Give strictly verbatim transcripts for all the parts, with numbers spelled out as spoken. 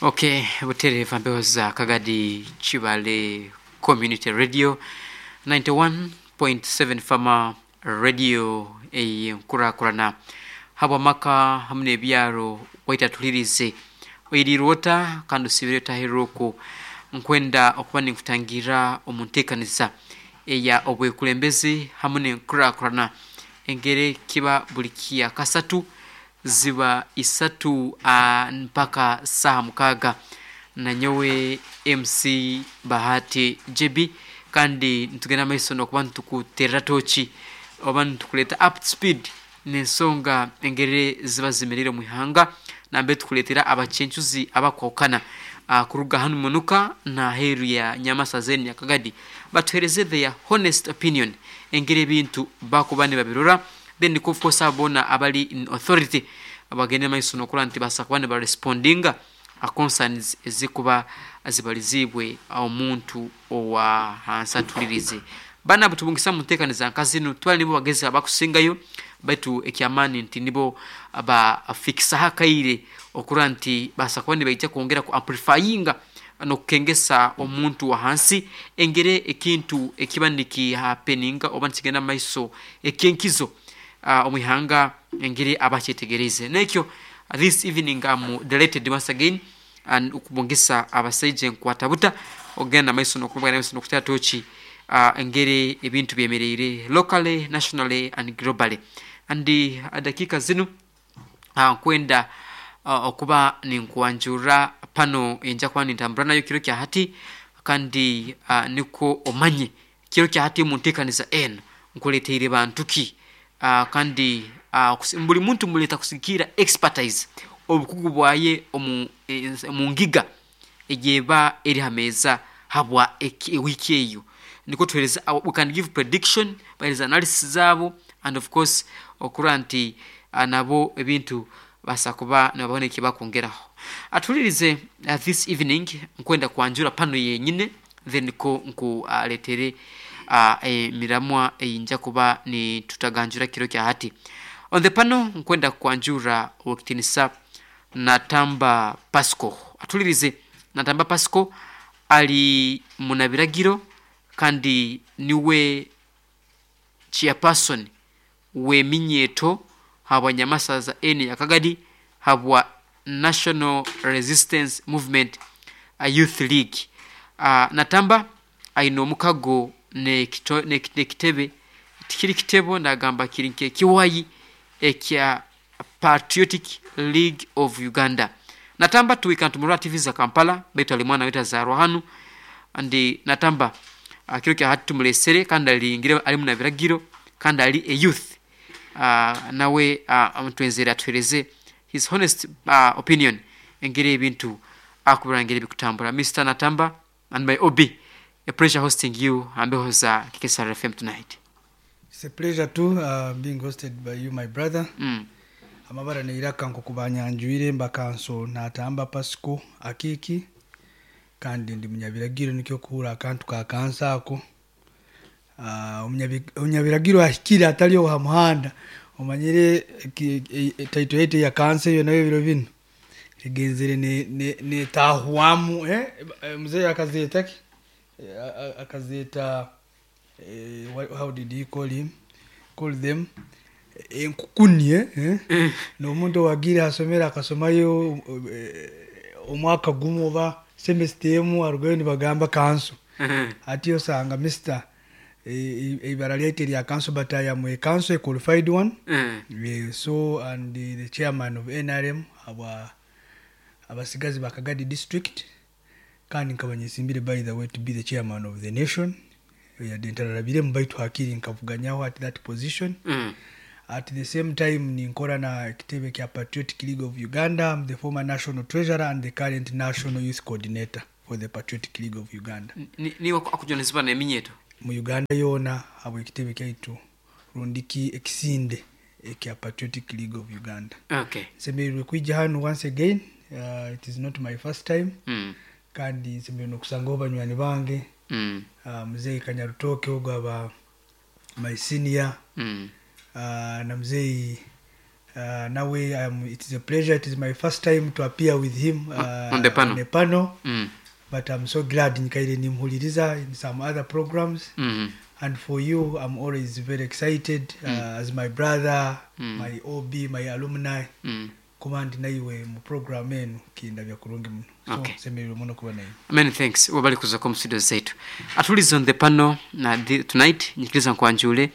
Okay, butereeva mpewo za Kagadi Kibale Community Radio ninety-one point seven Fama Radio eyenkurakurana habwamaka hamu n'ebyaro. Waitatulirize oirirwota kandi osibire otahirire okwo. Nkwenda okuba ninkutangira omu nteekaniza eya obwekulembezi hamu n'enkurakurana, engeri kiba buli kya kasatu ziba isatu uh, mpaka saha mukaaga, nanyowe M C Bahati J B. Kandi nitugenda maiso nokuba nitukuterera toki oba nitukuleeta up to speed n'ensonga engeri ziba zimerire omu ihanga, nambere tukuleetera abacencuzi abakwahukana uh, kuruga hanu munuka naheeru ya Nyamasa zeni Nyakagadi, batuhereze their honest opinion engeri ebintu bakuba nibabirora. Then of course abo boona abali in authority bagende maiso nokurora nti basa kuba nibarespondinga concerns ezikuba zibalizibwe omuntu owa hansi atulirize. Bana butubungisa mu nteekaniza nka zinu, twali nibo bagezi abakusingayo, baitu ekyamaani nti nibo bafikisaho akaire okurora nti basa kuba nibaija kwongera ku amplifyinga n'okukengesa omuntu wa hansi engeri ekintu ekiba nikihappeninga oba nikigenda maiso ekyenkizo uh, omu ihanga, engeri abakyetegereze. Nekyo this evening I'm delighted once again and okubungisa abasaija enkwata buta ogenda maiso nokubagana maiso nokutera toki uh, engeri ebintu byemereire locally, nationally and globally. And uh, dakiika zinu uh, nkwenda uh, okuba ninkwanjurra pano enja kuba nintambura nayo kiro kya hati. Kandi uh, nikwo omanye kiro kya hati mu nteekaniza eno nkuleteire bantu ki. uh, kandi uh, buli muntu muleeta kusigikiira expertise, obukugu bwaye omu, omu ngiga egyeba eri ha meeza habwa wiiki eyo. Nikwo tuhereza, we can give prediction, bahereza analysis zaabo, and of course okurora nti uh, nabo ebintu basa kuba nibabona ekibakwongeraho. Atulirize, uh, this evening nkwenda kwanjura pano yenyine, then ko nkualetere uh, emiramwa eyinja kuba nitutaganjura kiro kya hati. On the pano nkwenda kwanjura owekitinisa Natamba Pasco. Atulirize, Natamba Pasco ali munabiragiro kandi niwe chairperson w'eminyeeto habwa Nyamasaza eni Yakagadi habwa National Resistance Movement uh, Youth League. uh, natamba aine omukago nekitebe, tikiri kitebo, ndagamba kiri nkekiwayi ekya Patriotic League of Uganda. Natamba tuwika ntumurora T V za Kampala, baitu ali mwana wetu azarwa hanu. Andi Natamba uh, kiro kya hati tumulesere kandi alingire ali munabiragiro kandi ali a youth. uh, nawe uh, mutwenzere atuhereze his honest uh, opinion engeri ebintu akubira, ngeri bikutambura. Mister Natamba and my O B, a pleasure hosting you ambeho za K K S R F M tonight. It's a pleasure too uh, being hosted by you, my brother. mm. Amabara neiraka nkokubanyanjwire, mbakanso Natamba Pasco Akiki, kandi ndi munyabiragiro, nikyo kuhura akantu ka kansa ako. uh, omunyabiragiro ahikire atali oha muhanda omanyire title yaitu ya kansa eyo nayo ebiro binu egenzere netahwamu ne, eh? Mzee akazeeta ki? Akazeeta eh, how did he call him, call them? Enkukuni, eh? Eh? N'omuntu owagiire hasomero akasomayo eh, omwaka gumu oba semester emu, arugayo nibagamba kanso. Ati osanga mister ibara lyaitu erya council, but I am a council, a qualified one. mm. So and the, the chairman of N R M aba abasigazi bakagadi district, kandi nkaba nyesimbire, by the way, to be the chairman of the nation. Yadde ntararabiremu, baitu hakiri nkavuganyaho at that position. mm. At the same time ninkora na ekitebe kya Patriotic League of Uganda. I'm the former national treasurer and the current national youth coordinator for the Patriotic League of Uganda. Niwe akujunanizibwa n'eminyeeto mu Uganda yoona habwa ekitebe kyaitu rundiki ekisinde ekya Patriotic League of Uganda. Okay nsemereirwe kwija hanu once again. uh, it is not my first time. mm. Kandi nsemereirwe nokusangaho banywani bange, mm. uh, muzeyi Kanyarutoke ogu aba my senior, mm. uh, na muzeyi Uh, nawe um, it is a pleasure. It is my first time to appear with him uh, On the panel. On the panel. Mm. But I'm so glad nikaire nimhuliriza in some other programs. Mm. And for you, I'm always very excited uh, as my brother, my O B, my alumni. Mm. Kuba ndi naiwe mu program enu kindabya kurungi muno. So Okay. semererwa muno kuba naiwe. Many thanks, wabali kuzako mu studio zaitu. Atulize on the panel na the, tonight nyikiriza nkwanjule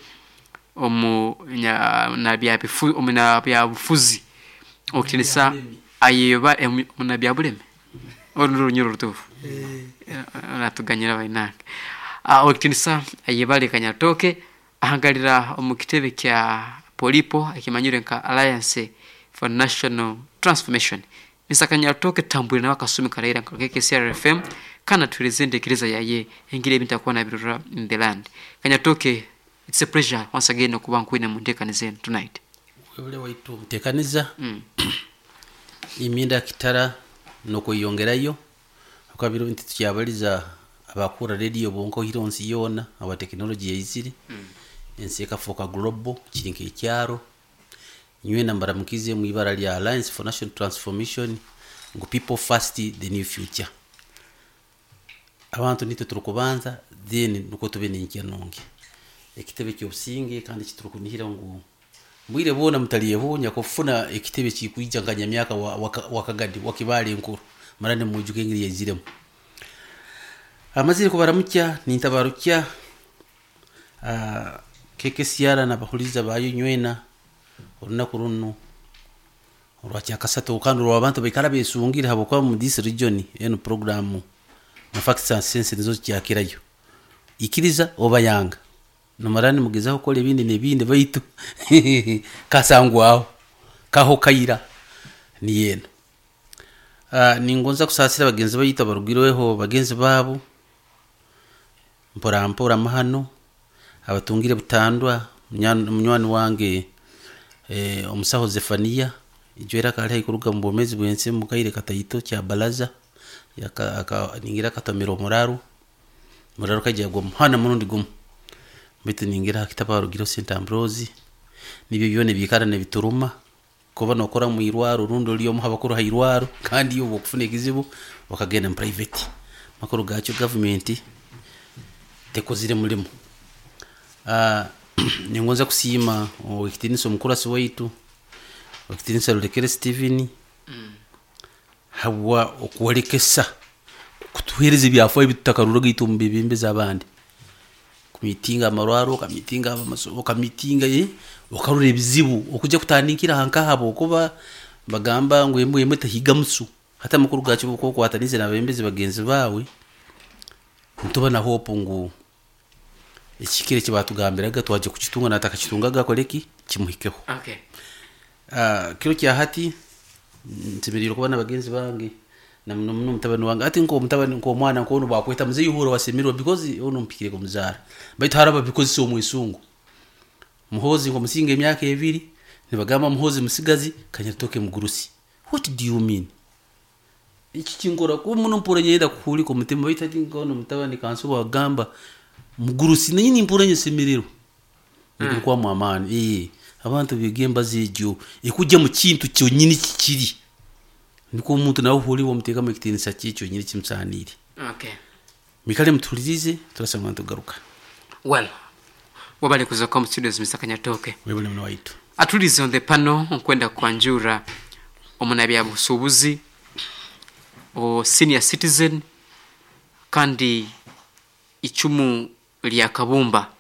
omu nya- na bya bifu omu na bya bufuzi okutinisa ayeba omu na bya buleme olu lunyoro lutufu. Eh, Natuganyira bainange. uh, okitinisa ayebale Kanyatoke ahangalira omu kitebe kya Polipo ekimanyire nka Alliance for National Transformation. Mister Kanyatoke, tambwire nawe akasumi karaira nka K C R F M kana tueleze entekereza yaye engeri ebintu akuba nabirora in the land. Kanyatoke, it's a pleasure once again okuba nkwine mu nteekani zenu tonight. Webale waitu mutekaniza. mm. Imyenda kitara nokweyongerayo akabiro nti tukyabaliza abakura radio bonko hiro nsi yona aba tekinoloji yaizire, ensi ekafuuka global, kiri nk'ekyaro. Nywena mbaramukize mu ibara lya Alliance for National Transformation ngu people first, the new future. Abantu nitwe turikubanza, then nuko tube nenkya nungi ekitebe kyobusinge. Kandi kiturukunihira ngu mbwire bwona mutalyehunya kufuna ekitebe kikwija nka nyamyaka wakagadi wakibale enkuru marane mujuke engeri yaiziremu amazire kubaramukya nintabarukya uh, K K C R nabahuliza bayo nywena olunaku runo olwakyakasatu kandi olwabantu baikara besungire habwokuba mu this region eno program na facts and sense nizo zikyakirayo ikiriza oba yanga nomara nimugezaho kukora ebindi nebindi baitu kasangwaho kaho kaira niyeno. uh, ningonza kusasira bagenzi baitu abarugirweho bagenzi babo mpora mpora mahano abatungire butandwa. Munywani wange eh, omusaho Zefania ijwera akali haikuruga mu bwomezi bwensi mukaire kataito kya balaza yaka aka, ningira akatomera omuraru muraru kajya gwa muhana murundi gumu bitu ningira hakitaba rugiro Saint Ambrose nibyo byone bikara nebituruma kuba nokora mu irwaro rundi uri omu habakuru ha irwaro kandi iyo bokufuna ekizibu bakagenda mu private makuru gacyo government tekozire mulimo. uh, ningonza kusiima owekitinisa omukurasi waitu owekitinisa Rulekere Steven mm. habwa okuwolekesa kutuhereza ebyafayo ebitutakaruraga itwe omu bebembezi abandi kumitinga amarwaro okamitinga amasomo okamitinga eh, okarora ebizibu okujja kutandikira hankahabo okuba bagamba ngu embwa emwe tehiga musu. Hati amakuru gakyo okwatanize nabembezi bagenzi bawe nituba na hope ngu ekikire ekibatugambiraga twajya kukitunga natakakitungaga akoreki kimuhikeho. Okay. uh, kiro kya hati nsemerire kuba na bagenzi bange na muno muno mutabani wange ati nko mutabani nko omwana nkono bakweta muzeyi uhura wasemerwa because ono mpikire kumuzara baitu haraba because si omwisungu Muhozi ngo musinga emyaka ebiri nibagamba Muhozi musigazi, Kanyatoke mugurusi. What do you mean? Iki kingora kuba muno mpura nyenda kuhulika omutima baitu ati nkono mutabani kanso bagamba mugurusi naye nimpura nyesemererwa mm. kwa amaani eh abantu bige embazi egyo ekujja mu kintu kyonyini kikiri niko omuntu nawe uhuriwe omuteekamu ekitiinisa kye kyonyini kimusaaniire. Okay. Mikale mutulirize turasanga nitugaruka. Well, wabali kuza mu studios Mister Kanyatoke. Webale muno waitu. Atulize on the panel nkwenda kwanjura omunabyabusuubuzi o senior citizen kandi icumu lya Kabumba.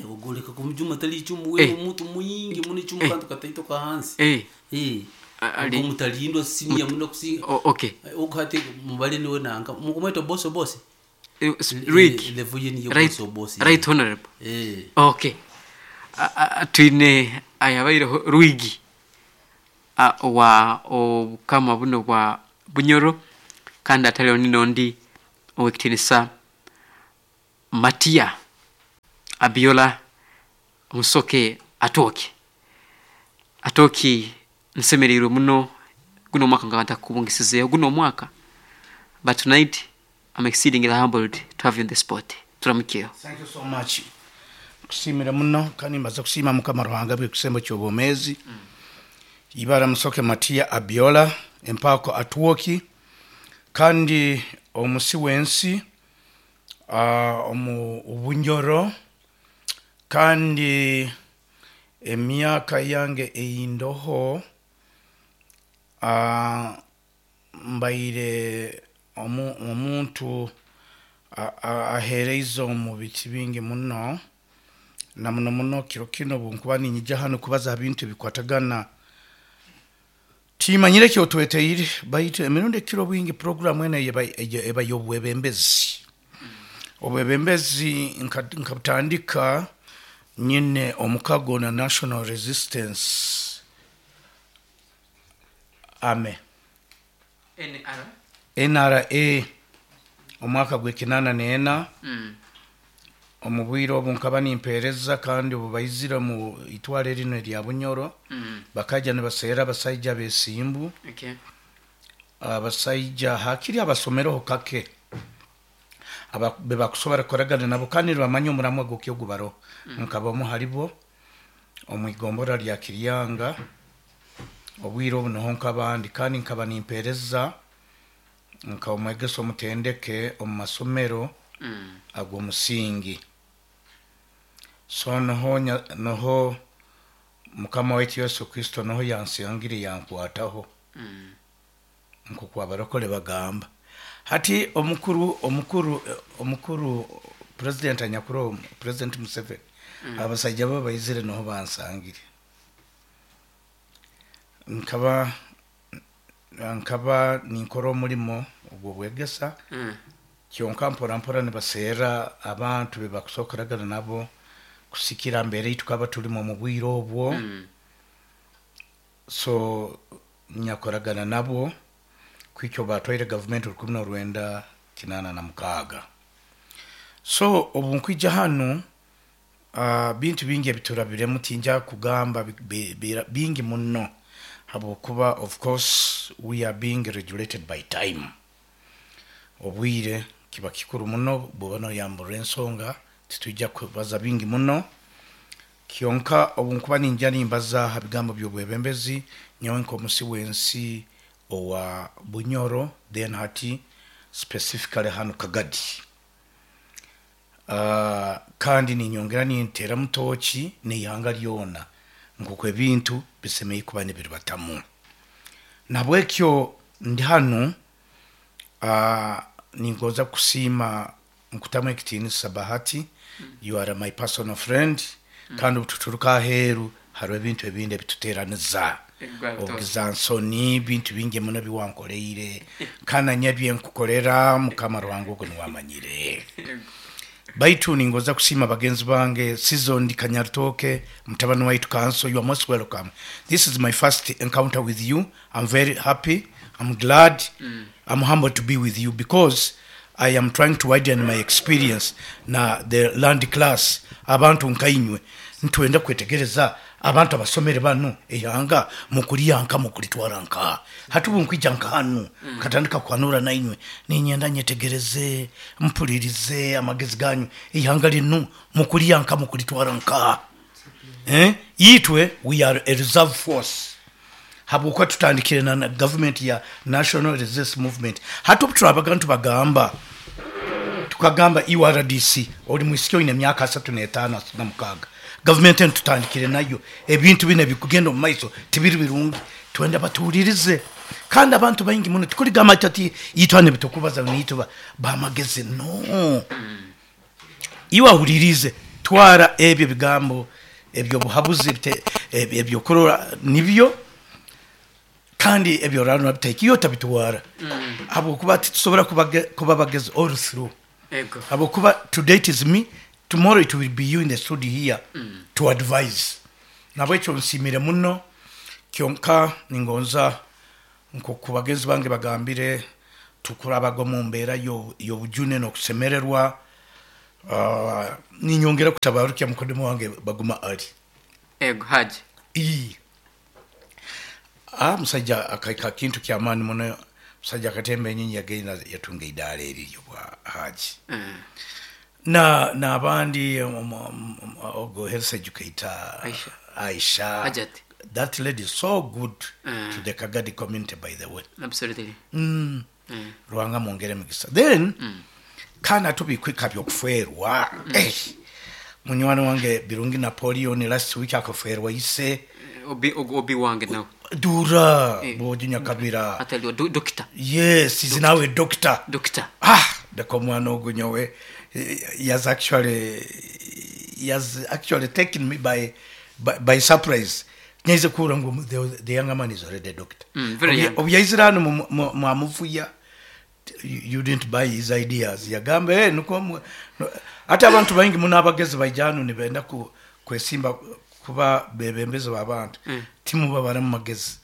Ogoleka kumujuma tali icumu. Eh. We omuntu muyingi muno icumu Eh. kantu kataito kahansi. Eh, Eh. A- ali- Ogwo mutalindwa senior muno kusinga. o- okay. Okati mubale niwe nanka mukumweta boss boss. Eh, s- Rick. Level ye niyo Right, boss boss. right honorable. Eh. Okay. A- a- twine ayabaireho Rwigi a- wa obukama buno bwa Bunyoro kandi ataliho ninondi owekitinisa Matia Abiola Musoke Atooki. Atooki, nsemereirwe muno guno omwaka nga ntakubungisizeeho guno omwaka, but tonight I'm exceedingly humbled to have you in the spot. Turamukyeho. Thank you so much. Kusiimira muno kandi mbaza kusiima Mukama Ruhanga bw'ekisembo ky'obwomeezi. Ibara Musoke Matiya Abiola empako Atwoki kandi omusi w'ensi uh, omu Bunyoro kandi emyaka yange eyindoho uh, mbaire omu, omuntu aheereize omu biti bingi muno na muno muno kiro kino bunkuba ninyija hano kubaza ha bintu ebikwatagana timanyire kyotweteire baitu emirundi ekiro bwingi programu eno eba eba y'obwebembezi. Obwebembezi nkabutandika nyine omukago na National Resistance Army N R N R A omwaka gw'ekinana n'ena. Mm. Omu bwire obu nkaba nimpeereza kandi obu baizire mu itwale rino erya Bunyoro. Mm. Bakaija nibaseera abasaija b'esimbu. Okay. Abasaija hakiri abasomereho kake aba bebakusobora kukoragana nabo kandi nibamanya omuramwa gw'okyo gubaro. Mm. Nkabamu haribo omu igombora rya Kiryanga obwire obu niho nkabandi kandi nkaba nimpeereza nka omwegesa omutendeke omu masomero. Mm. Ag'omusingi. So noho noho Mukama waitu Yesu Kristo noho yansangire yankwataho. Mm. Nkoku abarokole bagamba hati omukuru omukuru omukuru president anyakuru President Museveni. Mm. Abasajja bo baizire noho bansangire nkaba nkaba ninkora omulimo ogw'obwegesa. Mm. Kyonka mpora mpora nibaseera abantu bebakusokoragana nabo kusikira mbere yitu tukaba tulimu omu bwire obwo. Mm. So nyakoragana nabo kwikyo batwaire gavumenti rukumi n'orwenda kinana na mukaaga. So obu nkwija hanu uh, bintu bingi ebiturabiremu tinja kugamba bi, bi, bingi muno habwokuba of course we are being regulated by time. Obwire kiba kikuru muno bwoba noyambura ensonga titujja kubaza bingi muno. Kyonka obu nkuba ninja nimbaza ha bigambo by'obwebembezi nyowe nk'omusi w'ensi owa Bunyoro then hati specifically hano Kagadi. Uh, kandi ninyongera nintera mutoki n'ihanga lyona nkuko ebintu bisemeye kuba nibiribatamu. Nabwekyo ndi hano uh, ningoza kusiima nkutamu ekitiinisa Bahati. You are my personal friend. Mm. Kandi obututuruka aheeru hariho ebintu ebindi ebituteeraniza obugiza nsoni bintu bingi muno biwankoreire kandi nanye byenkukorera Mukama Ruhanga ogwo niwamanyire. Baitu ningoza kusiima bagenzi bange Season Kanyarutoke mutabani waitu Kanso, you are most welcome. This is my first encounter with you. I'm very happy. I'm glad. Mm. I'm humbled to be with you because I am trying to widen my experience na the land class abantu nkainywe ntwenda kwetegereza abantu abasomere bano ehanga mukuliyanka mukulitwara nka hati ubu nkwija nka hanu. Mm. Katandika kwanura nainywe ninyenda nyetegereze mpulirize amagezi ganyu ihanga linu mukuliyanka mukulitwara nka eh yitwe we are a reserve force habwokuba tutandikire na government ya National Resistance Movement. Hati obu turabaga ntubagamba tukagamba U R D C oli mwisiki oine emyaka asatu n'etaano asatu na mukaaga government eno tutandikire nayo ebintu bino ebikugenda omu maiso tibiri birungi twenda batuwulirize kandi abantu baingi muno tukuligamba ati itwe hano ebitukubaza niitwe bamagezi no. Iwe ahulirize twara ebyo bigambo ebyo buhabuzi ebyokurora nibyo kandi ebyo rano biteke iyo tabitwara. Mm. Habwokuba titusobora kuba bagezi all through. Ego. Habwokuba today it is me, tomorrow it will be you in the studio here. Mm. To advise. Nabwekyo nsimire muno kyonka ningonza nko kubagezi bange bagambire tukurabaga mu mbeera y'obujune n'okusemererwa. Uh, ninyongera kutabarukya mukodemo wange baguma ali. Ego Haji. I. Ah, musajja akaika kintu kya maani muno musajja akatemba enyinyi yagenda yatunga idaala eriryo bwa Haji. Mm. Na n'abandi um, um, um, ogo health educator Aisha. Aisha Hajati. That lady is so good Mm. to the Kagadi community, by the way. Absolutely. Mm. Mm. Ruhanga mwongere mugisa. Then Mm. kana tubikwika byokufwerwa. Eh, munywani wange Birungi Napoleon last week akafwerwa ise. Obi obi wange nawe. Dura Eh. boji Nyakabira. Ataliwa do, doctor. Yes, he's now a doctor. Doctor. Ah, ndeko mwana ogu nyowe he has actually he has actually taken me by by, by surprise. Nyaize kuhura ngu the, the younger man is already a doctor. Mm, very young. Obu yaizire hano mu- mu- mwamuvuya, you you didn't buy his ideas. Yagamba hey, nuko mu- no, ate abantu baingi muno abagezi baija hano nibenda ku, kwesimba kuba bebembezi b'abantu. Mm. Timubabara mu magezi.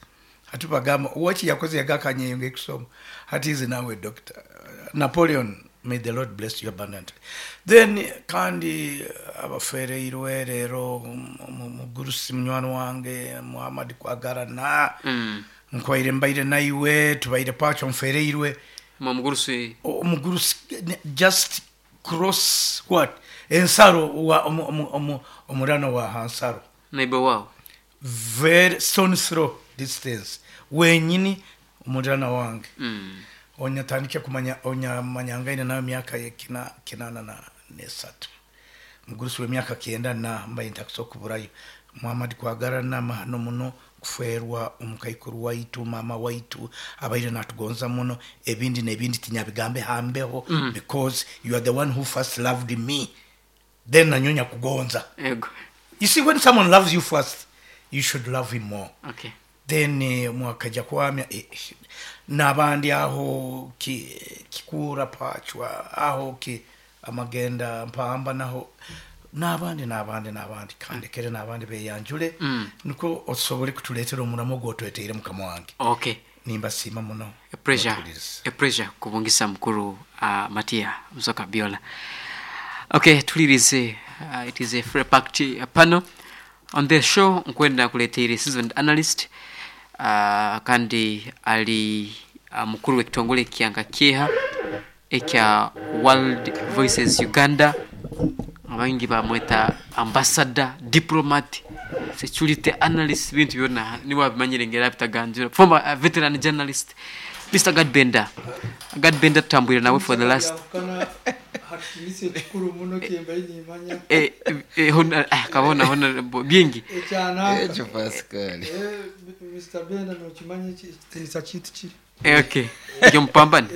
Hati bagamba waki yakoze yagakanyeyonga ekusoma. Hati is now a doctor. Napoleon, may the Lord bless you abundantly. Then kandi abafereirwe rero mugurusi munywani wange Muhammad Kwagarana. Mm. Nkwaire mbaire naiwe tubaire pacho mfereirwe. Mwamugurusi Omugurusi just cross what ensaro wa omu- omu- omu- omurano wa hansaro. Neighbor wao. Very stone throw distance wenyini omurano wange. Mm. Onyatandike kumanya onyamanyangaine nayo myaka ye kina kinana na nesatu mugurusi w'emyaka kyenda na mbaye ntakusobola kuburayo. Muhammad Kwagarana mahano muno kuferwa omukaikuru waitu mama waitu abaire natugonza muno ebindi nebindi tinyabigambe hambeho. Mm. Because you are the one who first loved me, then nanyonya kugonza. Ego. You see, when someone loves you first, you should love him more. Okay. Then eh, mwakaja kwamya eh, n'abandi aho ki, kikura pachwa aho ki amagenda mpamba naho n'abandi n'abandi n'abandi kandekere n'abandi beyanjule. Mm. Niko osobole kutuleetera omuramo gwotweteire mukama wange. Okay. Nimbasiima muno. A pleasure. Otuwuliriza. A pleasure kubungisa mukuru uh, Matia Musoka Biola. Okay, tulirize uh, it is a free packed uh, panel on the show. Nkwenda kuleteire seasoned analyst uh, kandi ali uh, mukuru w'ekitongole kyanka kyeha ekya World Voices Uganda, abangi bamweta ambassador, diplomat, security analyst, bintu byonna niwe abimanyire ngera bitaganjura, former uh, veteran journalist Mister Gad Bender. Gad Bender tutambwire nawe for the last Yahukana hakitinisa ekikuru muno kyembaire nimanya. eh, eh, hona, ah, kabona hona bingi Ekyananka. Ekyo Pascal. Eh, Mister Benda nokimanya eki- ekitiinisa kintu kiri. Eh, okay ekyo mupambane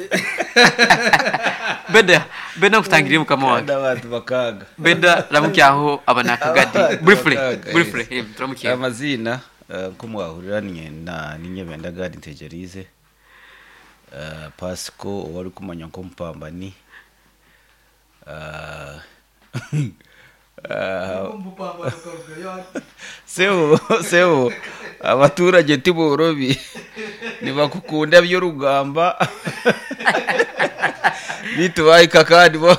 Benda. Benda nkutangiriye mukama wange. Kandi abantu bakaaga. Benda ramukyaho abanakagadi Abantu briefly. bakaaga, Briefly. yes. Eh, turamukyaho. Amazina eh, nko mwahurira ninyenda ninye Benda Gad Ntegerize. Eh, Pasco owari kumanya nk'omupambani. Eh, eh, Omupambano karugayo ati. Sebo sebo abaturage tiborobi nibakukunda by'orugamba bitu bahika kandi bo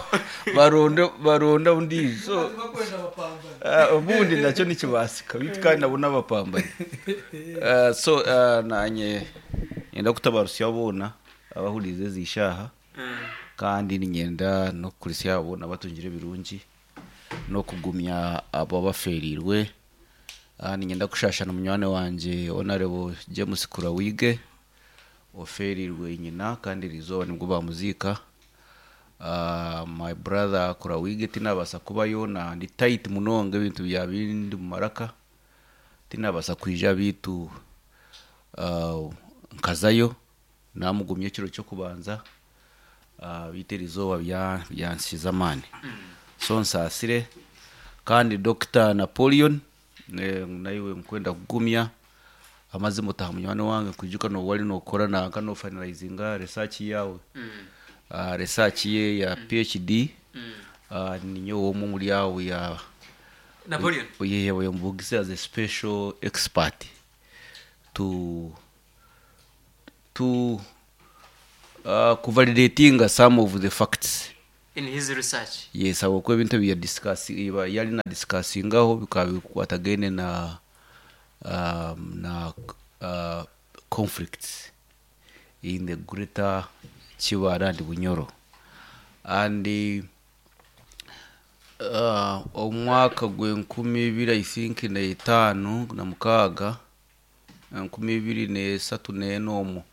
baronda baronda undizo. Bakwenda bapambana. Uh, ubundi nakyo nikibasika bitu kandi nabo n'abapambanyi. Uh, so uh, nanye nyenda kutabarusya boona abahurize ezishaha kandi ninyenda nokukurisya boona batungire ebirungi nokugumya abo abaferirwe. Uh, ninyenda kushashana munywani wanje Honorable James Kurawige oferirwe nyina kandi eriizooba nibwo bamuziika. Uh, my brother Kurawige tinabasa kubayo na ndi tight munonga ebintu bya bindi mu maraka tinabasa kwija bitu uh, nkazayo namugumya ekiro kyokubanza uh, bitu eriizooba bya- byansiza amaani. So nsaasire kandi Doctor Napoleon eh, naiwe nkwenda kugumya amazima otaha munywani wange kwijuka nowali nokora nanka nofinalizinga research yawe. Mm. Uh, research ye ya P H D. Mm. uh, ninyowe omwe omuri abo ya Napoleon. Ye yambugise as a special expert to to uh, kuvalidatinga some of the facts in his research. Yes, habwokuba ebintu ebi yadiscuss yali na discussingaho bikaba bikwatagaine na um, na uh, conflicts in the Greater Kibara and Bunyoro and uh, omwaka gw'enkumi ibiri, I think, na etaano na mukaaga. enkumi ibiri n'esatu n'ena omwo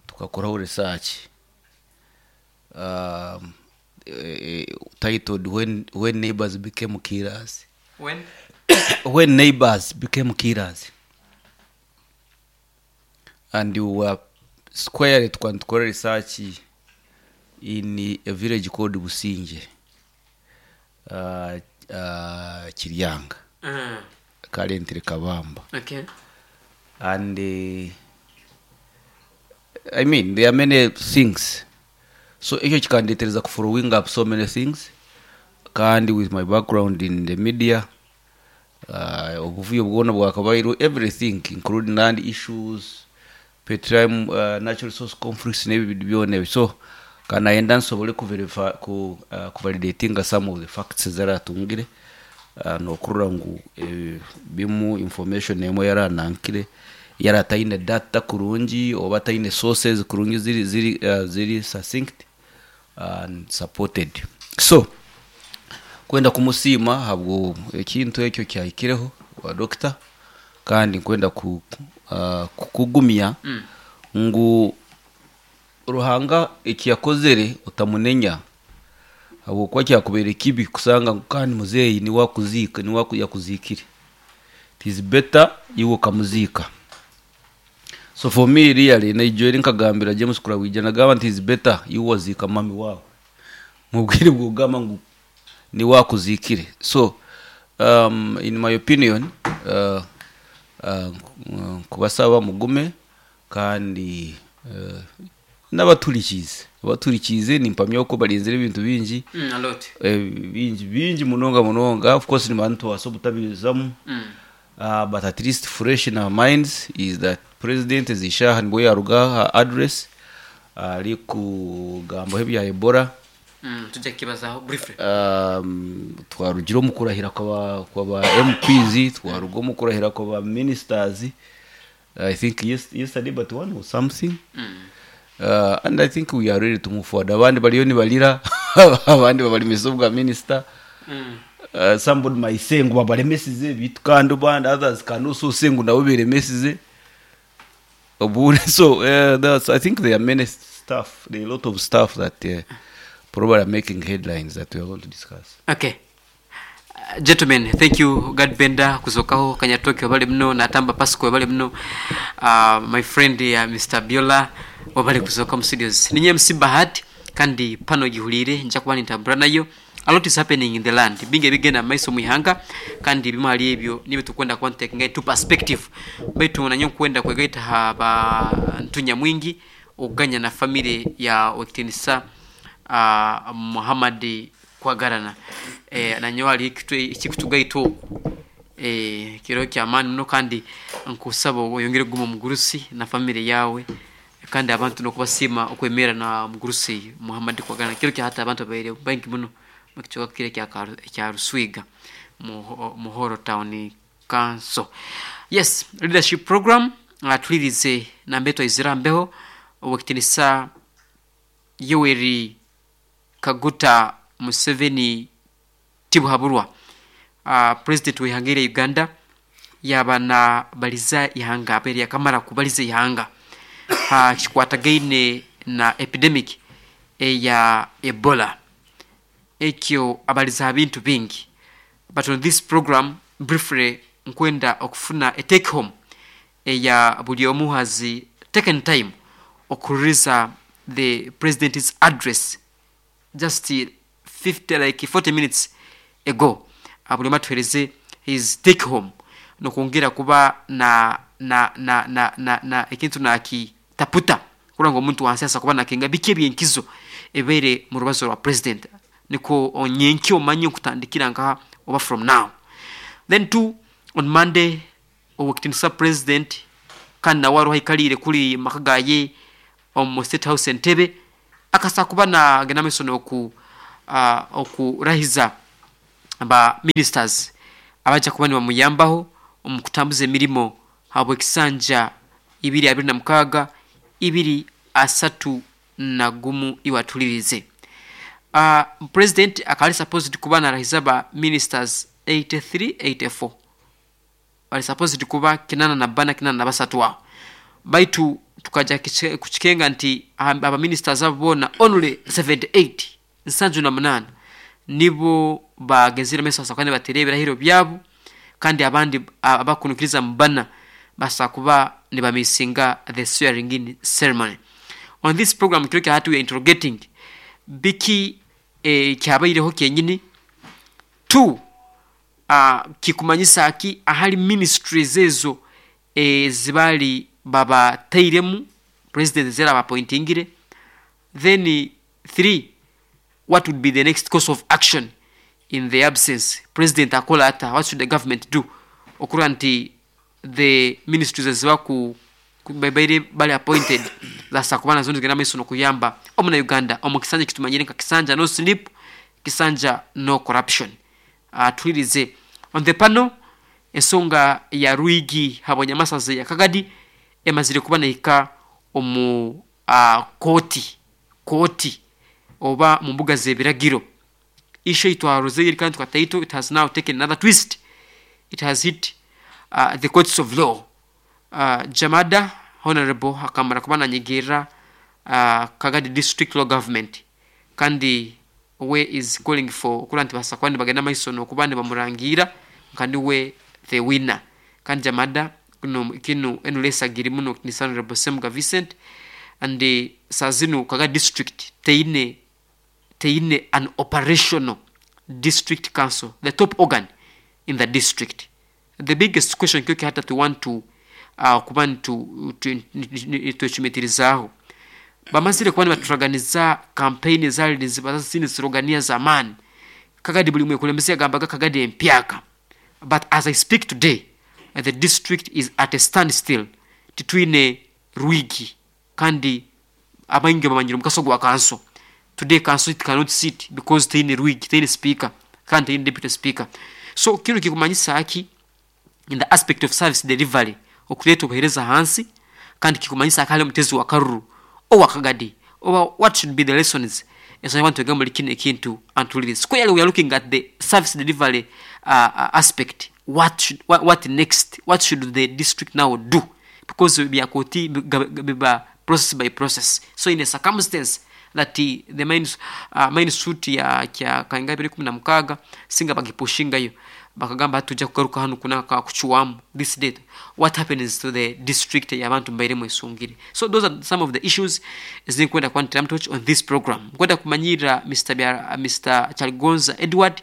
tukakoraho research um, eh, titled when, when neighbors became killers When? When neighbors became killers. And we were squarely tukora research in a village called Businge, uh, uh, Kiryanga, Mm. currently Kabamba. Okay. And uh, I mean, there are many things, so ekyo kikandetereza ku following up so many things. Kandi with my background in the media, uh, obuvuyo bwona bwakabairwe, everything including land issues, petroleum, uh, natural resource conflicts n'ebyo byona ebyo. So kanayenda nsobole kuverify ku uh, kuvalidatinga some of the facts zaratungire, uh, nokurora ngu eh, bimu information emwe yaranankire yarataine data kurungi oba ataine sources kurungi ziri ziri uh, ziri succinct and supported. So kwenda kumusiima habwo ekintu ekyo kyahikireho wa doctor, kandi nkwenda ku, uh, kukugumya mm. ngu Ruhanga ekiyakozere utamunenya, habwokuba kyakubere kibi kusanga ngu kandi muzeeyi niwe akuziika, niwe aku- yakuzikire. It is better iwe ukamuziika. So for me, really, naijweri nkagambira James Kurawija, nagamba nti is better iwe waziika mami wawe mubwire bwogamba ngu niwe akuzikire. So um, in my opinion, uh, uh, nkubasaba mugume kandi uh, n'abaturikize abaturikize nimpamya ko barinzire ebintu bingi. Mm, a lot. eh, bingi bingi munonga munonga. Of course ni bantu twasa obutabizamu, Mm. uh, but at least fresh in our minds is that president zishaha nibwo yaruga ha address ari kugambaho ebya Ebola. Mm, tujja kukibazaho briefly. um, twarugira omu kurahira kwaba kwaba M Ps, twaruga omu kurahira kwaba ministers, I think yes, yesterday but one or something. Mm. uh, and I think we are ready to move forward. Abandi bariyo nibalira, abandi babalemesa obwa minister. Mm. uh, somebody might say ngu babalemesize bitu, kandi bandi others can also say ngu nabo beremesize obure. So uh, that's, I think there are many stuff, there are a lot of stuff that uh, probably are making headlines that we are going to discuss. Okay. Uh, gentlemen, thank you. God Benda kuzokaho Kanyatoke wabale muno, Natamba Pasco wabale muno, uh, my friend uh, Mister Biola wabale kuzoka mu studios. Ninye M C Bahati kandi pano gihulire nja kuba nintambura nayo. A lot is happening in the land, bingi ebigenda mu maiso mu ihanga, kandi bimu hali ebyo nibyo tukwenda kuba nitutekinga into perspective. Baitu nanyo nkwenda kwegaita ha bantu nyamwingi okuganya na family ya Wekitinisa uh, Muhammad Kwagarana, eh, nanyo ali ekikutugaita oku eh, kiro kyamaani muno, kandi nkusaba oyongere kuguma omugurusi na family yawe, kandi abantu nokubasiima okwemera na mugurusi Muhammad Kwagarana. Kiro kyahata abantu babaire baingi muno mukicoka kire kya Karu- kya Ruswiga Muho- Muhoro Town Council. Yes, leadership program uh, tulirize nambe twaizira mbeho owekitinisa Yoweri Kaguta Museveni Tibuhaburwa, uh, president w'ihanga erya Uganda, yaba na baliza ihanga abaire yakamara kubaliza ihanga ha kikwatagaine na epidemic eya Ebola. Ekyo abaliza bintu bingi, but on this program briefly nkwenda okufuna a take home eya buli omu has taken time okuririza the president's address just fifty like forty minutes ago. Ah, buli omu atuhereze his take home nokwongera kuba na na na na na, na ekintu nakitaputa kuranga omuntu wansi asa kuba nakenga biki ebyenkizo ebeere mu rubazo rwa president, niko onyenkya omanye okutandikira nkaha oba from now. Then two, on Monday owekitinisa president kandi nawe aruho aikalire kuri maka gaye omu State House Entebe, akasa kuba nagenda maiso noku uh, okurahiza ba ministers abaja kuba nibamuyambaho omu kutambuza emirimo habwe ekisanja ibiri abiri na mukaaga ibiri asatu na gumu iwatulirize. uh, president akali supposed kuba narahiza ba ministers eighty-three eighty-four. Bali supposed kuba kinana na bana, kinana na basatu aho, baitu tukaja kukikenga nti aba ministers abo bona only seventy-eight, nsanju na munana, nibo bagezire meso sakane batere ebirahiro byabo, kandi abandi abakunukiriza mbana basa kuba nibamisinga the swearing in ceremony. On this program kiro hatu we are interrogating biki eh, kyabaireho kenyini two, uh, kikumanyisa aki ahali ministries ezo eh, zibali baba tairemu president zera bapointingire. Then three, what would be the next course of action in the absence president akola ata, what should the government do okura nti the ministries ezibaku babaire bali appointed zasa kubana zono zigenda maiso nokuyamba omuna Uganda omu kisanja kitumanyire nka kisanja no sleep, kisanja no corruption. Uh, tulirize on the panel ensonga ya Rwigi habonyamasaze ya Kagadi emazire kuba nehika omu uh, koti koti oba mu mbuga z'ebiragiro. Issue itwaroze kandi tukataito, it has now taken another twist. It has hit uh, the courts of law. Uh, Jamada Honorable akamara kuba nanyegerera uh, Kagadi District Law Government, kandi we is calling for okura nti basakwani bagenda maiso nokuba nibamurangira kandi we the winner. Kandi Jamada kuno kinu enulesagiri muno ni Honorable Semuga Vincent, and uh, sazinu Kagadi District teine teine an operational district council, the top organ in the district. The biggest question kyoki hata to want to uh, kuba twecumitirizaho bamazire kuba nibaturaganiza campaign zali zini slogania zamani Kagadi buli mwekulembeze yagambaga Kagadi empyaka, but as I speak today the district is at a standstill. Titwine Rwigi kandi abaingi bamanyire omukaso gwa council. Today council it cannot sit because teine Rwigi, teine speaker kandi teine deputy speaker. So kino kikumanyisa aki in the aspect of service delivery okuleta obuhereza hansi, kandi kikumanyisa akali omutezi wa karuru owa Kagadi oba what should be the lessons ensonga abantu egamba muri kino ekintu antulire. Squarely we are looking at the service delivery uh, uh, aspect. What should, what, what next, what should the district now do, because byakoti biba process by process. So in a circumstance that the, the main, uh, main suit ya kya kainga ibiri kumi na mukaga singa bagipushingayo bakagamba tujja kugaruka hano kuna kuchuwamu this date, what happens to the district y'abantu mbairemu esungire. So those are some of the issues zinkwenda kwantira touch on this program. Nkwenda kumanyira Mister Biara, Mister Chalgonza Edward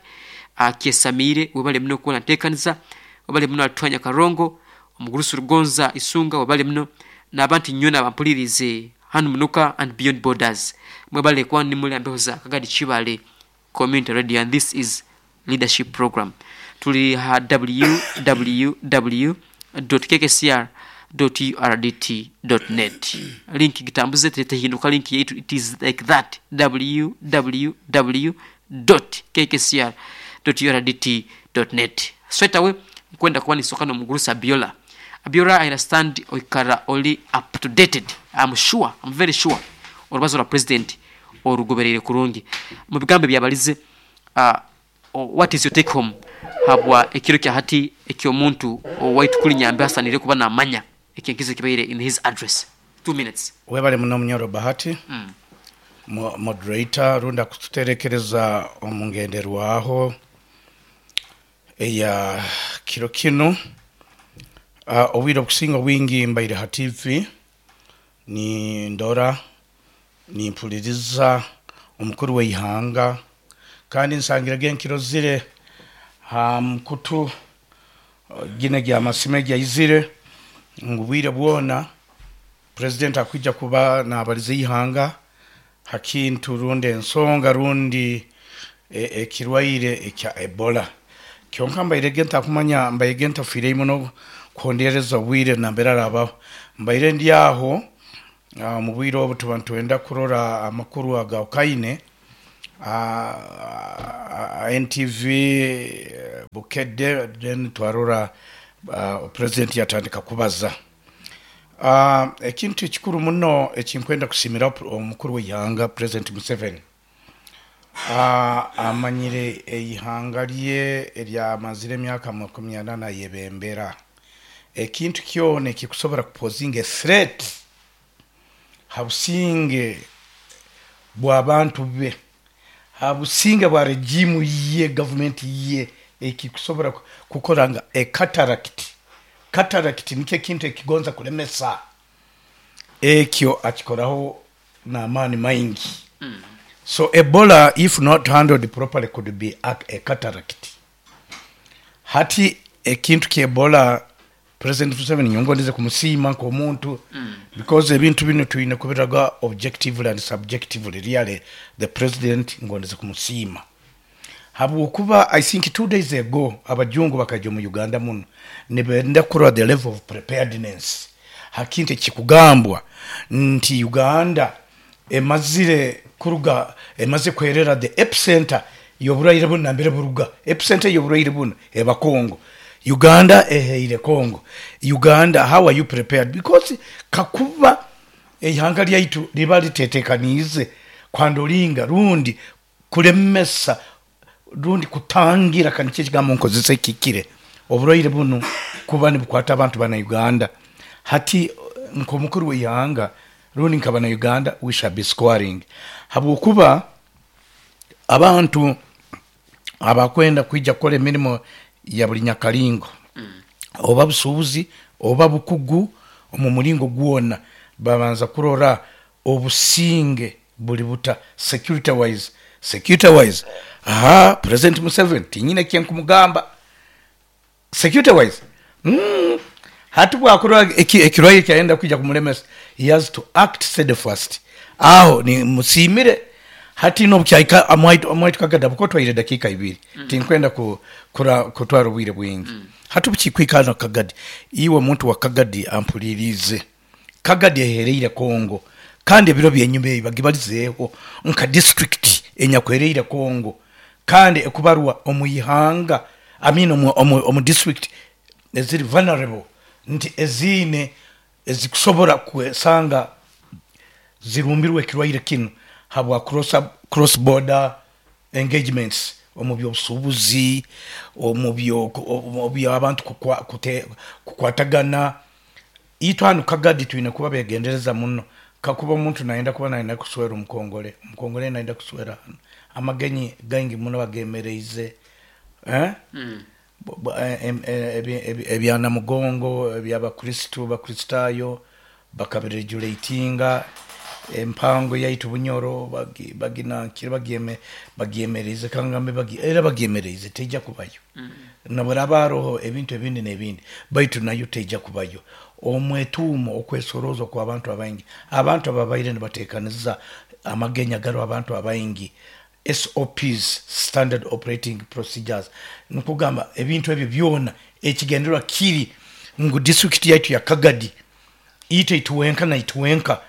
uh, Kiesamire webale muno kuona ntekanisa, webale muno atwanya Karongo omugurusu Rugonza Isunga webale muno n'abantu nyona bampulirize hano munuka and beyond borders mwebale kwani muli ambeho za Kagadi Chibale Community Radio, and this is leadership program. Tuli ha w w w dot k k c r dot u r d t dot net. Link gitambuze tulete hinduka link yetu, it is like that, w w w dot k k c r dot u r d t dot net. Straight away kwenda kuba nisoka no mugurusa Abiola. Abiola, I understand oikara oli up to dated. I'm sure, I'm very sure orubazo la president orugoberere kurungi mu bigambo byabalize. Uh, what is your take home habwa ekiro kya hati ekyo muntu owaitu kuli nyambe asanire kuba namanya ekinkizo kibaire in his address. Two minutes. Webale muno Munyoro Bahati. Mm. Mo moderator runda kututerekereza omungenderwaho eya kiro kino. Uh, obwire okusinga obwingi mbaire ha T V ni ndora ni mpuliriza omukuru w'eihanga kandi nsangira genkiro zire ha mkutu gine gya masime gya izire ngubwire bwona president akwijja kuba nabalize ihanga hakintu runde ensonga rundi ekirwaire e, ekya Ebola. Kyonka mbaire genta kumanya mbaire genta fire muno kondereza bwire nambera rabaho mbaire ndi aho uh, mu bwire obu tuba ntwenda kurora amakuru aga Okaine uh, N T V Bukedde, then twarora uh, president yatandika kubaza uh, ekintu ekikuru muno ekinkwenda kusimira omukuru w'ihanga President Museveni. Uh, amanyire eihanga lye eryamazire emyaka makumi ana yebembera Ekintu kyona ekikusobora kupozinga threat ha businge bw'abantu be, ha businge bwa regimu ye, gavumenti ye, ekikusobora ku- kukora nga ecataract. Cataract nikyo ekintu ekigonza kulemesa, ekyo akikoraho n'amaani maingi. So Ebola, if not handled properly, could be a, a cataract. Hati ekintu kya Ebola, President Museveni nyongondeze kumusiima nk'omuntu mm. because ebintu bino tulina kubiraga objectively and subjectively. Really, the president ngondeze kumusiima habwokuba I think two days ago abajungu bakajja mu Uganda muno nibenda kurora the level of preparedness hakintu ekikugambwa nti Uganda emazire kuruga, emaze kwerera the epicenter y'oburwaire buno nambere buruga. Epicenter y'oburwaire buno eba Congo. Uganda eheire Congo. Uganda, how are you prepared? Because kakuba eihanga lyaitu liba litetekaniize kwandolinga rundi kulemesa rundi kutangira, kanikyo ekigambo nkozesa ekikire, oburwaire buno kuba nibukwata abantu bana Uganda. Hati nk'omukuru w'eihanga rundi nkabana Uganda, we shall be scoring, habwokuba abantu abakwenda kwija kukora emirimo ya buli nyakalingo mm. oba busuubuzi oba bukugu omu mulingo gwona, babanza kurora obusinge buli buta security wise. Security wise, aha, President Museveni tinyine kyenkumugamba security wise mm. Hati bwakurora ekirwaire kyayenda kwija kumulemesa, he has to act steadfast. Aho ni musimire. Hati nobukyaika amwaitu kagada buko twaire dakika ibiri mm. tinkwenda ku, kura, kutwara obwire bwingi mm. Hati bukikwikana Kagadi, iwe muntu wa Kagadi ampulirize. Kagadi ehereire Kongo, kandi ebiro byenyuma ebi bagibalizeeho nka district enyakwereire Kongo, kandi ekubarwa omu ihanga, I mean omu, omu, omu district eziri vulnerable, nti eziine ezikusobora kwesanga zirumbirwe ekirwaire kinu habwa cross, cross border engagements omu byobusuubuzi, omu byo omu by'abantu kukwatagana. Itwe hanu Kagadi twine kuba begendereza muno. Kakuba omuntu nayenda kuba nayenda kuswera omukongole, omukongole nayenda kuswera hano, amagenyi gaingi muno bagemereize eh? mm. Ebyanamugongo ebyabakristu, bakristayo bakabiregulatinga. Empango yaitu Bunyoro baginankire bagieme bagiemereize kangambe bagi era bagiemereize teija kubayo mm. Nabweraba haroho ebintu ebindi n'ebindi, baitu nayo teija kubayo. Omwetuumo okwesoroza kwa abantu abaingi, abantu ababaire nibateekaniza amagenya garo abantu abaingi, S O Ps, standard operating procedures, nikugamba ebintu ebyo byona ekigendererwa kiri ngu district yaitu ya Kagadi ite ituwenka na ituwenka.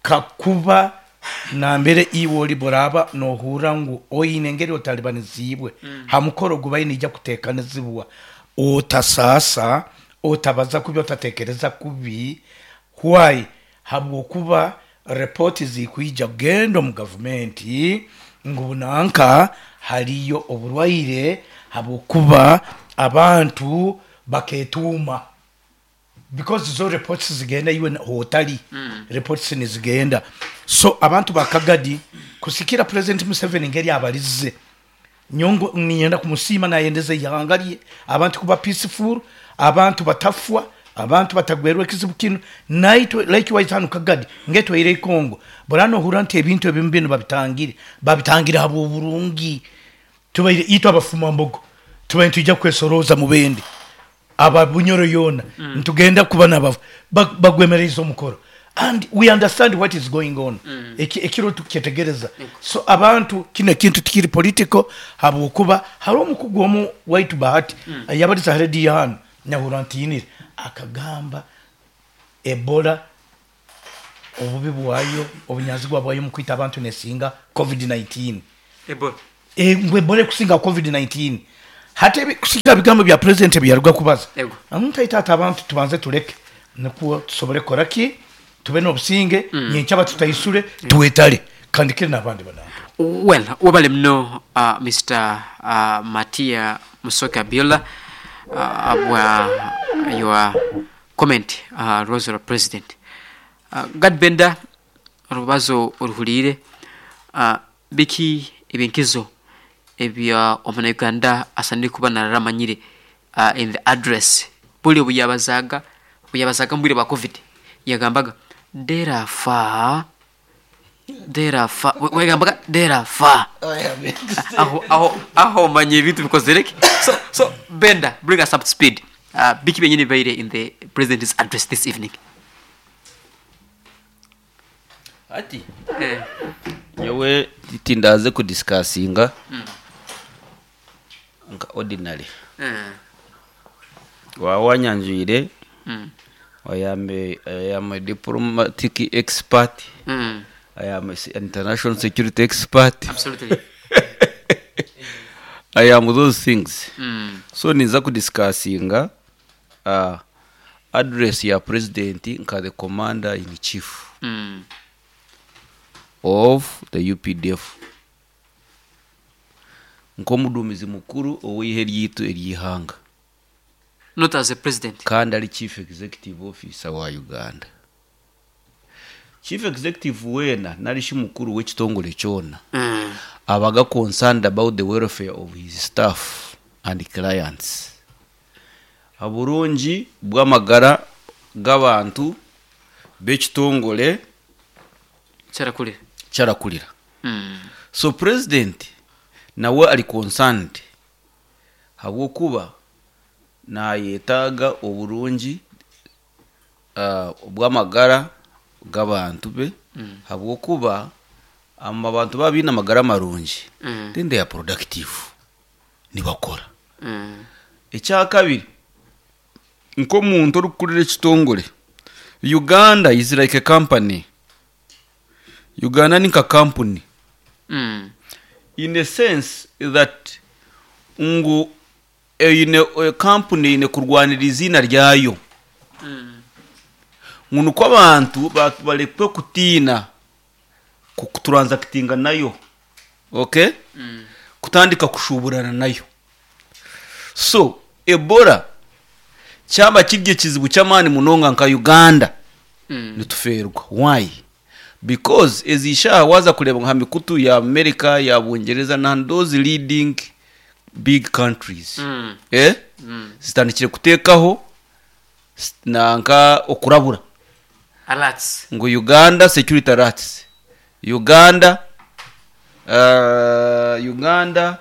Kakuba nambere iwe oli boraba nohura ngu oine engeri otalibanizibwe mm. hamukoro gubaine ija kutekanizibwa, otasasa otabaza kubi, otatekereza kubi. Why? Habwokuba report zikuija gendo mu gavumenti ngu nanka haliyo oburwaire, habwokuba abantu baketuuma, because zo reports zigenda iwe hotali mm. reports nizigenda. So abantu bakagadi kusikira President Museveni ngeri abalize nyongo, ninyenda kumusima nayendeze ihanga abantu kuba peaceful, abantu batafwa, abantu batagwerwa ekizibu kino. Naitwe likewise hano Kagadi ngetwaire Kongo borano hura nti ebintu ebimu babitangire babitangire habo burungi. Tubaire itwa abafuma mbogo tubaire tujja kwesoroza mu bende aba Bunyoro yona mm. ntugenda kuba naba bagwemereza omukoro, and we understand what is going on mm. Ekiro tukyetegereza mm. So abantu kino kintu tikiri political, habwokuba hari omukugu omu waitu Bahati mm. yabaliza radio hano nyahura ntinire akagamba Ebola obubi bwayo obunyazigwa bwayo mu kwita abantu nesinga covid nineteen. Ebola e Ebola kusinga covid nineteen. Hata kusiga bigambo bya president byaruga kubaza amuntu aita abantu tubanze tuleke nikuo tusobole koraki tube n'obusinge mm. nyencha batutaisure mm. tuwetale kandi kiri nabandi banantu. Well, wabale mno uh, Mister uh, Matia Musoke Abiola uh, abwa your comment uh, rwazo rwa president uh, Gad Benda, orubazo oruhuliire, uh, biki ebinkizo ebya omunyauganda asanire kuba nararamanyire uh, in the address buli obuyabazaga obuyabazaga mu bwire bwa COVID yagambaga derafa derafa wegambaga derafa aho aho aho omanye ebintu bikozereke. so so Benda, bring us up to speed. uh, biki byenyini bibaire in the president's address this evening? Ati eh. Nyowe tindaze kudiscussinga nka ordinary. Eh. Waba wanyanjwire, Mm. I am a, I am a diplomatic expert. Mm. I am a international security expert. Absolutely. I am those things. Mm. So ninza kudiscussinga uh, address ya president nka the commander in chief Mm. of the U P D F, nk'omuduumizi mukuru ow'ihe ryitu ery'ihanga. Not as a president. Kandi ari chief executive officer wa Uganda. Chief executive weena narishi mukuru w'ekitongore kyona mm. abaga concerned about the welfare of his staff and clients, oburungi bw'amagara g'abantu b'ekitongore Kyarakurira. Kyarakurira. Mm. So president nawe ari concerned habwokuba nayetaaga oburungi uh, bw'amagara g'abantu be, mm. habwokuba ama abantu baba biine amagara marungi, Mm. then they are productive, nibakora. Mm. Ekyakabiri, nk'omuntu orikukurira ekitongore, Uganda is like a company. Uganda ni nka company Mm. in a sense that ngu eine company eine kurwanira izina ryayo, Mm. ngu nuko abantu ba- barekwe kutiina kutransactinga nayo, okay? Mm. Kutandika kushuburana nayo. So Ebola kyaba kiri ekizibu ky'amaani munonga nka Uganda, Mm. nituferwa. Why? Because ezishaha waza kureba nka mikutu ya America, ya Bungereza na those leading big countries, Mm. eh Mm. zitandikire kuteekaho s- nanka okurabura Alerts. Ngu Uganda security alerts, Uganda, uh, Uganda,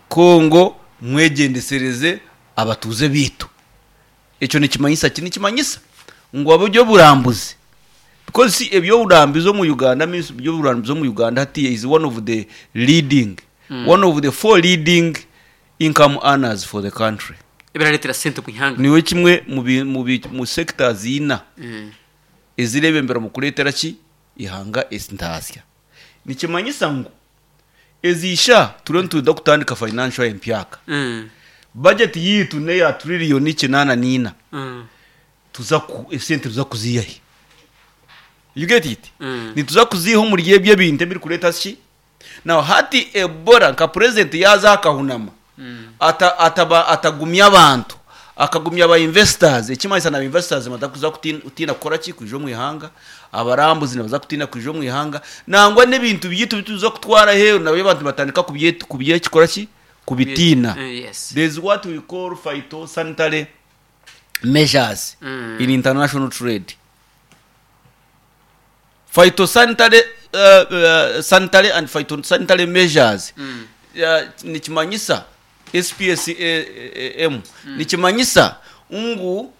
Congo, mwegendesereze abatuze bitu. Ekyo nikimanyisa ki? Nikimanyisa ngu aburyo burambuzi, because see, ebyoburambuzi omu Uganda means ebyoburambuzi omu Uganda hati is one of the leading, mm. one of the four leading income earners for the country. Ebiraretera sente mu ihanga. Niwe kimwe mu bi- mu bi- mu sectors ina Mm. ezirebembera mu kureetera ki ihanga entasya. Nikimanyisa ngu ezisha turiyo nituda kutandika financial empyaka. Mm. Budget yitu neya triliyoni kinana nina. Mm. Tuza ku esente tuza kuziyahe? You get it? Mm. Nituza kuziha omuri ebyo ebintu ebirikureta ki. Now hati Ebola, nka president yaza akahunama, Mm. ata ataba atagumya abantu, akagumya aba investors, ekimanyisa na investors batakuza kutina kutina kukora ki kwija omu ihanga, abarambuzi nibaza kutina kwija omu ihanga, nangwa n'ebintu byitu bituza kutwara heru nabyo abantu batandika kubyetu kubyekikora ki kubitina. Eh, yes. There's what we call phytosanitary measures Mm. in international trade. Phytosanitary uh, uh, sanitary and phytosanitary measures, Mm. uh, nikimanyisa S P S M, nikimanyisa ngu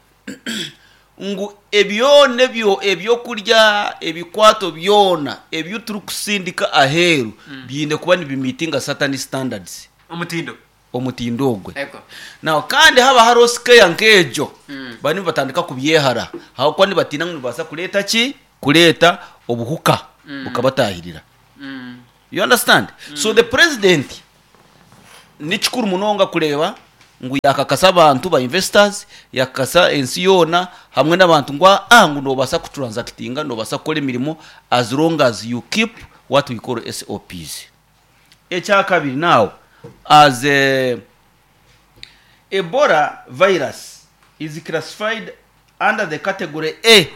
ngu ebyona ebyo ebyokurya, ebikwato byona ebyo turikusindika aheeru biine kuba nibimeetinga certain standards. Omutindo. Omutindo ogwe. Ego. Now kandi haba hariho scare nk'egyo, Mm. bani batandika kubyehara hakuba nibatina ngu nibaasa kureeta ki kureeta obuhuka bukabatahirira. Mm. You understand? So the president ni kikuru munonga kureeba ngu yakakasa abantu ba investors, yakakasa ensi yoona hamwe n'abantu ngu ah ngu nobaasa kutransactinga, nobaasa kukora emirimo as long as you keep what we call S O Ps. Ekyakabiri, now as a, Ebola virus is classified under the category A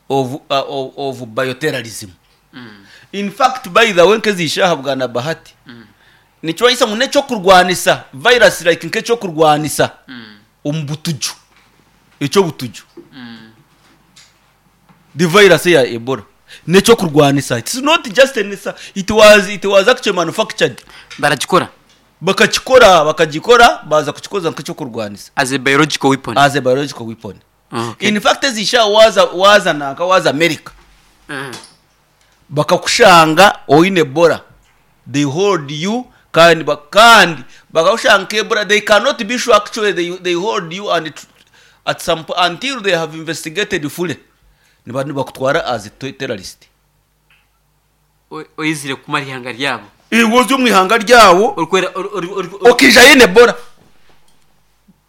of, uh, of, of bioterrorism. In fact, by the way, nk'ezishaha bwana Bahati, nikyo ngu n'ekyokurwanisa virus, like nk'ekyokurwanisa omu butuju, ekyobutuju, the virus ya Ebola n'ekyokurwanisa. It's not just an, it was it was actually manufactured. Baragikora. Bakakikora, bakagikora, baza kukikoza nk'ekyokurwanisa. As a biological weapon. As a biological weapon. Okay. In fact, ezisha waza waza nanka waza America, Mm. bakakushanga oine Ebola, they hold you, kandi ba- kandi bakakushanga nka Ebola, they cannot be sure. Actually, they, they hold you and it, at some po- until they have investigated fully, niba nibakutwara as a te- terrorist. O- oyizire kumara ihanga ryabo. Iwozi omu ihanga ryawo. Orikwera ori- ori- ori- ori- Okija yine Ebola.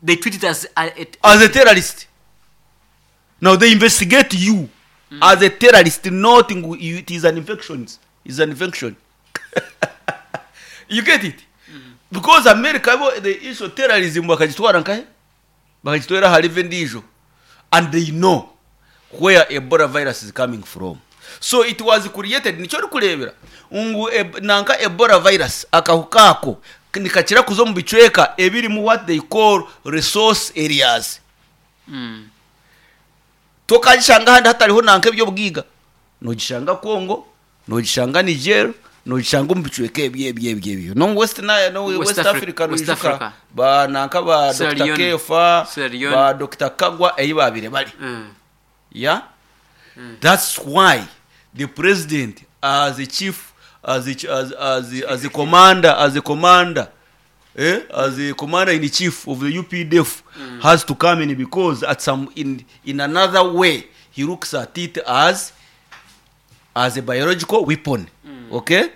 They treat it as a, it, As a terrorist. Now they investigate you as a terrorist, not ngu you- it is an infection. Is an infection. You get it? Because America bo, the issue terrorism bakagitwara nkahe, bakagitwara harive ndijo, and they know where Ebola virus is coming from. So it was created. Nicyo uri kurebera ngu eb, nanka Ebola virus akahuka ako nikakira kuza mu bicweka ebirimu what they call resource areas. Mm. Tokagishanga ahandi hatariho nanka ebyobwiga. Nogishanga Congo, nogishanga Niger, nogishanga omu bicweka ebyo ebyo ebyo ebyo, no West na no West West, Afri- Africa. West Noijuka Africa. ba nanka ba Sierra Doctor Leone. Kefa, Sierra Leone. ba Doctor Kagwa, eyi babire bari. Mm. Yeah, that's why the president, as a chief, as a, ch- as as a, as a commander as a commander eh, as a commander in chief of the U P D F, has to come in, because at some in in another way he looks at it as as a biological weapon. Okay,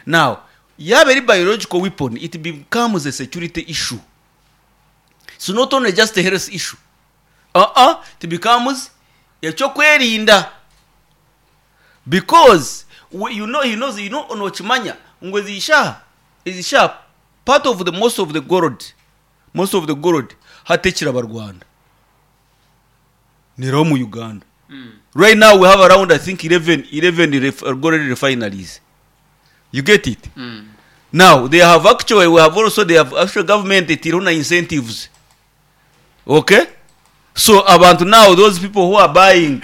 now yaba eri biological weapon, it becomes a security issue. So not only just a health issue, uh-uh, it becomes ekyokwerinda, because we, you know, he knows, you know, nokimanya ngu ezishaha ezishaha part of the most of the gold most of the gold hatekira abarwanda niraho mu Uganda. Right now we have around, I think, eleven eleven ref, gold refineries. You get it? Mm. Now they have actually, we have also, they have actually, government etiriho na incentives. Okay, so abantu now, those people who are buying,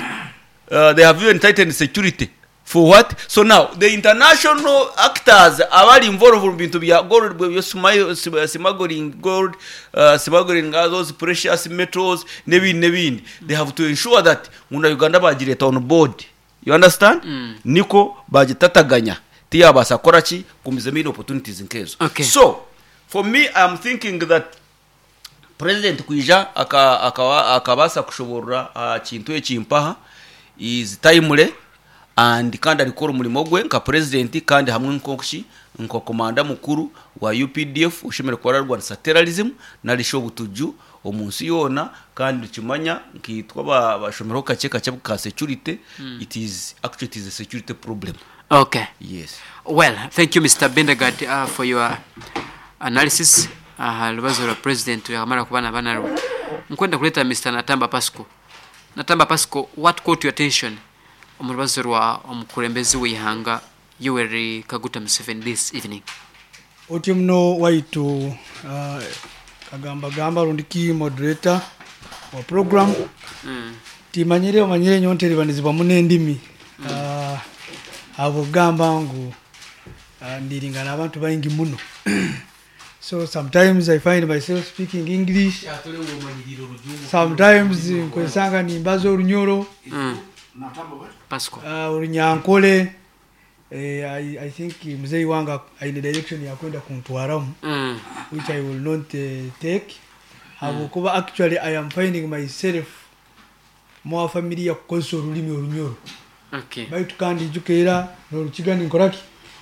uh, they have even tightened security for what. So now the international actors abari involved mu bintu bya gold, byo sma- smuggling gold, uh, smuggling all those precious metals n'ebindi n'ebindi, they have to ensure that muna Uganda bagireta on board. You understand? Mm. Niko bagitataganya tiyabasa kora ki kumizemu ino opportunities nkezo. Okay. So for me, I'm thinking that president kwija aka- akaba- akabasa kushoborora aha kintu ekimpaha is timely, and kandi arikora omurimo gwe nka president, kandi hamwe nkoki nka komanda mukuru wa U P D F ushemere kuba ararwanisa terrorism narisha obutuju omu nsi yoona. Kandi tukimanya nkitwa ba- bashomeraho kake kake ka security, it is actually, it is a security problem. Okay. Yes. Well, thank you, Mister Bendegard, uh, for your analysis. Aha lubazo lwa president yakamara kubana banarwo. Nkwenda kuleta Mister Natamba Pasco. Natamba Pasco, what caught your attention omu rubazo rwa omukulembeze w'ihanga Yoweri Kaguta Museveni this evening? Otyo muno waitu, uh, kagamba gamba rundiki moderator wa program. Mm. Timanyire omanyire nyonteribanizibwa muno endimi, uh, abo gamba ngu uh, ndiringana abantu baingi muno, so sometimes I find myself speaking English, sometimes nkwesanga nimbaza Orunyoro. Mm. Pasco. uh, Orunyankole. eh, I, I think mzee wanga aine direction ya kwenda kuntwaramu, Mm. which I will not uh, take, habwokuba actually I am finding myself more familiar kukozesa orulimi Orunyoro. Okay. Baitu kandi njukeera norukiga ninkoraki.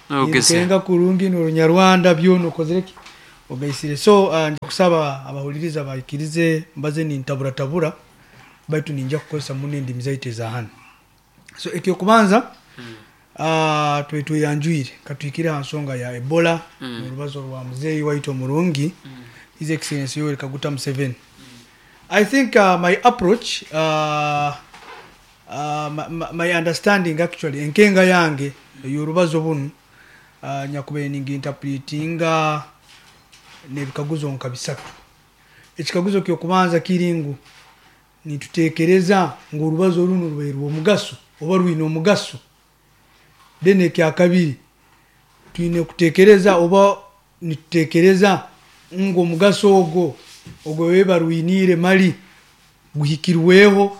Nogeze. Ninkenga kurungi norunyarwanda byona okozereki ogaisire. So uh, nja kusaba abahuliriza baikirize mbaze nintaburatabura, baitu ninja kukozesa muno endimi zaitu ezahanu. So ekyokubanza, uh, twe tweyanjwire katwikire ha nsonga ya Ebola, mm. Orubazo rwa muzeeyi waitu omurungi, mm. His Excellency Yoweri Kaguta Museveni. I think uh, my approach, uh, uh, my, my- my understanding actually, enkenga yange y'orubazo bunu uh, nyakubaire ninginterpretinga n'ebikaguzo nka bisatu. Ekikaguzo kyokubanza kiri ngu nitutekereza ngu orubazo runo rubaire rw'omugaso oba rwine omugaso. Then ekyakabiri twine kutekereza oba nitutekereza ngu omugaso ogwo ogwo bebe barwiniire mali guhikirweho.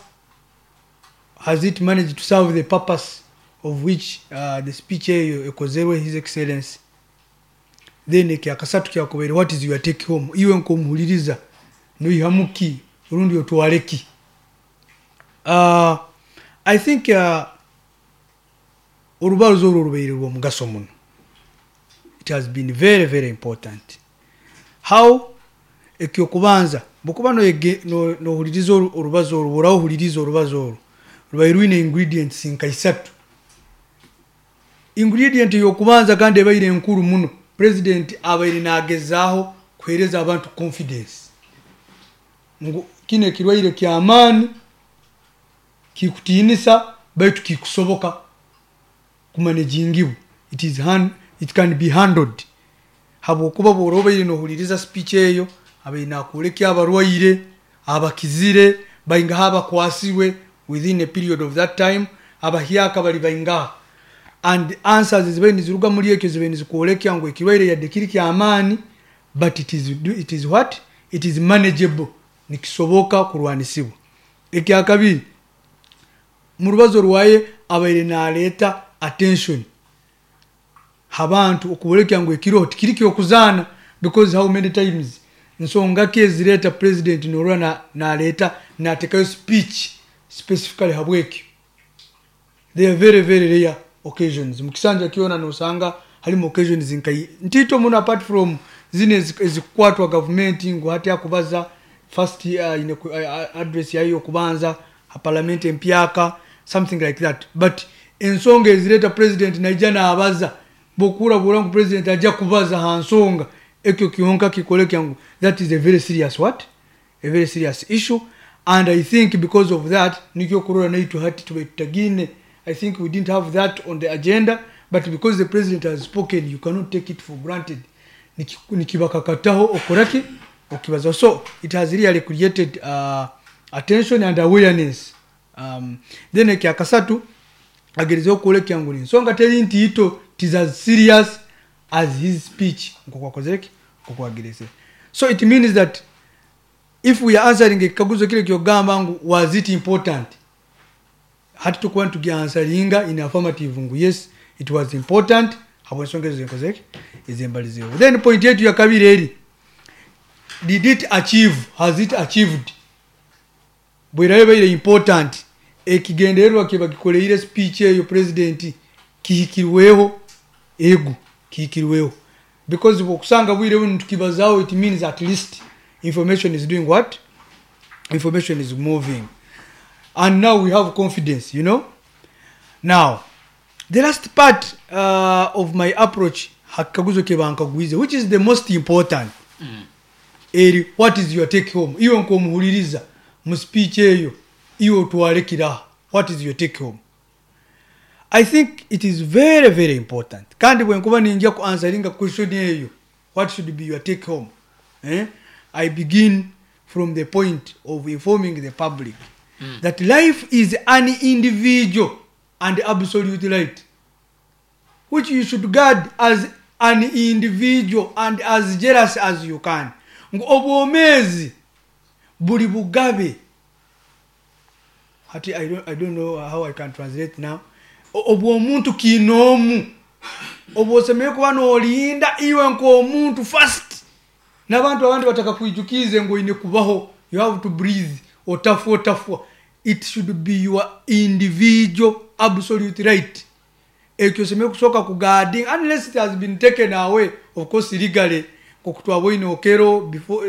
Has it managed to serve the purpose of which uh, the speech eyo ekozerwe His Excellency? Then ekyakasatu kyakubaire, what is your take home? Iwe nkomuhuliriza noihamuki rundi otwareki? uh, i think uh, orubazo orwo rubaire rw'omugaso muno. It has been very, very important. How? Ekyokubanza, bwokuba noyege- no- nohuliriza oru- orubazo orwo, orahuhuliriza orubazo orwo rubaire rwine ingredients nka isatu. Ingredient yokubanza kandi ebaire enkuru muno, president abaire nagezaaho kuhereza abantu confidence ngu kino ekirwaire kyamaani, kikutiinisa, baitu kikusoboka kumanagingibwa. It is hand, it can be handled, habwokuba bwora obaire nohuliriza speech eyo, abaire nakwoleka abarwaire abakizire baingaha, abakwasirwe within a period of that time, abahyaka bali baingaha, and answers zibaire niziruga muri ekyo zibaire nizikwoleka ngu ekirwaire yadde kiri kyamaani, but it is, it is what it is manageable, nikisoboka kurwanisibwa. Ekyakabiri, mu rubazo rwaye abaire naleeta attention abantu okubolekya ngu ekiro tikiri kyokuzaana, because how many times, nsonga ki ezireeta president norwa na- naleeta natekayo speech specifically habwekyo? They are very, very rare occasions. Mukisanja kyona nosanga halimu occasions nka ntito muno, apart from zino ezi- ezikukwatwa gavumenti ngu hati akubaza first uh, ine ku- uh, address yayo okubanza ha parliament empyaka, something like that. But ensonga ezireeta president naija nabaza, bwokuura bwora ngu president ajja kubaza ha nsonga ekyo kyonka kikolekya ngu that is a very serious what a very serious issue. And I think because of that nikyo kurora naitwe hati tubaire tutagine. I think we didn't have that on the agenda, but because the president has spoken, you cannot take it for granted. Niki- nikibakakataho okoraki okibaza. So it has really created uh, attention and awareness. um, then ekyakasatu, agerezeho kwolekya ngu ensonga teri ntiito, it is as serious as his speech nkokwakozereki nkokwagereze. So it means that if we are answering ekikaguzo kile kyogamba ngu was it important, hati tukuba nitugyansweringa in affirmative ngu yes, it was important, habwensonga ezo zenkozeki ezembalizeho. Then point yetu ya kabiri eri, did it achieve? Has it achieved? Bwerayo ebaire important, ekigendererwa kye bagikoleire speech eyo president kihikirweho? Ego, kihikirweho, because bwokusanga bwire buno tukibazaho, it means at least information is doing what? Information is moving, and now we have confidence you know Now the last part uh, of my approach, hakikaguzo ke bankagwize, which is the most important, mm. eri, what is your take home? Iwe nkomuhuliriza mu speech eyo, iwe otwalekiraha, what is your take home? I think it is very, very important. Kandi bwenkuba ninjya ku answeringa question eyo, what should be your take home, eh? I begin from the point of informing the public mm. that life is an individual and absolute right which you should guard as an individual and as jealous as you can, ngu obwomeezi buli bugabe. Hati I don't, I don't know how I can translate now. O- obwomuntu kinoomu obwosemere kuba nolinda iwe nk'omuntu first, n'abantu abandi batakakwijukize ngu oine kubaho, you have to breathe, otafwa otafwa. It should be your individual absolute right. Ekyo osemere kusooka kuguarding unless it has been taken away, of course, legally, nkokutwaboine Okero before.